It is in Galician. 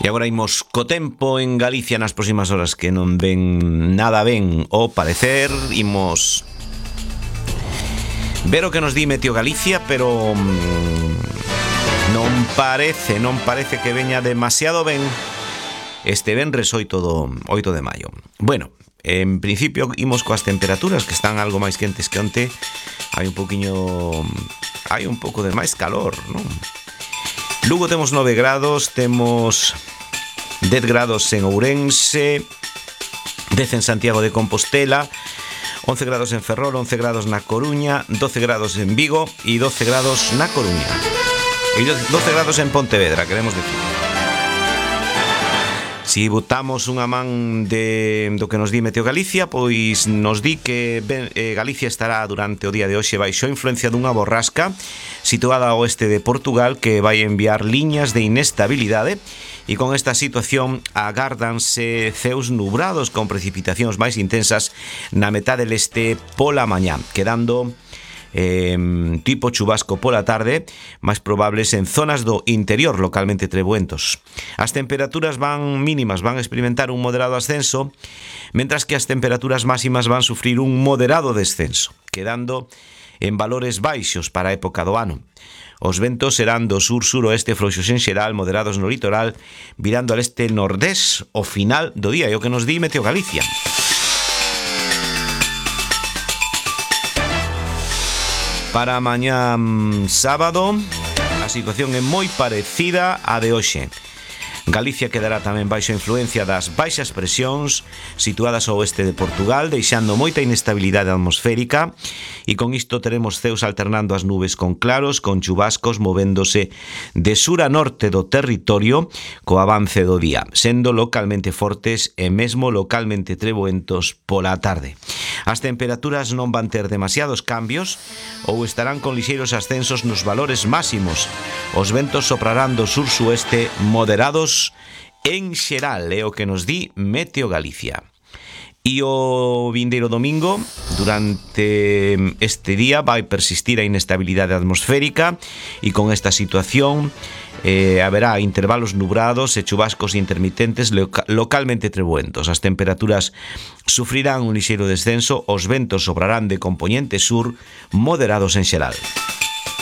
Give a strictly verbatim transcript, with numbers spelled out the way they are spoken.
E agora imos co tempo en Galicia nas próximas horas, que non ven nada ben ao parecer. Imos ver o que nos di Meteo Galicia, pero non parece, non parece que veña demasiado ben este venres oito de maio. Bueno, en principio imos coas temperaturas, que están algo máis quentes que onte. Hai un poquinho, hai un pouco de máis calor, non? Lugo temos nove grados, temos dez grados en Ourense, dez en Santiago de Compostela, once grados en Ferrol, once grados na Coruña, doce grados en Vigo e doce grados na Coruña. E doce grados en Pontevedra, queremos decir. Si botamos unha man de, do que nos di Meteo Galicia, pois nos di que ben, eh, Galicia estará durante o día de hoxe baixo a influencia dunha borrasca situada ao oeste de Portugal, que vai enviar liñas de inestabilidade, e con esta situación agárdanse ceos nubrados con precipitacións máis intensas na metade leste pola mañá, quedando Eh, tipo chubasco pola tarde, máis probables en zonas do interior, localmente trebuentos. As temperaturas van mínimas van a experimentar un moderado ascenso, mentras que as temperaturas máximas van sufrir un moderado descenso, quedando en valores baixos para a época do ano. Os ventos serán do sur-suroeste frouxos en xeral, moderados no litoral, virando al este nordés ao final do día, é o que nos di Meteo Galicia. Para mañá sábado, a situación é moi parecida á de hoxe. Galicia quedará tamén baixo a influencia das baixas presións situadas ao oeste de Portugal, deixando moita inestabilidade atmosférica, e con isto teremos ceos alternando as nubes con claros, con chubascos movéndose de sur a norte do territorio co avance do día, sendo localmente fortes e mesmo localmente trebuentos pola tarde. As temperaturas non van ter demasiados cambios ou estarán con lixeiros ascensos nos valores máximos. Os ventos soprarán do sur-sueste moderados en xeral, é o que nos di Meteo Galicia. E o vindeiro domingo, durante este día, vai persistir a inestabilidade atmosférica, e con esta situación eh, haberá intervalos nubrados e chubascos intermitentes loca- localmente trebuentos. As temperaturas sufrirán un lixeiro descenso, os ventos sobrarán de compoñente sur, moderados en xeral.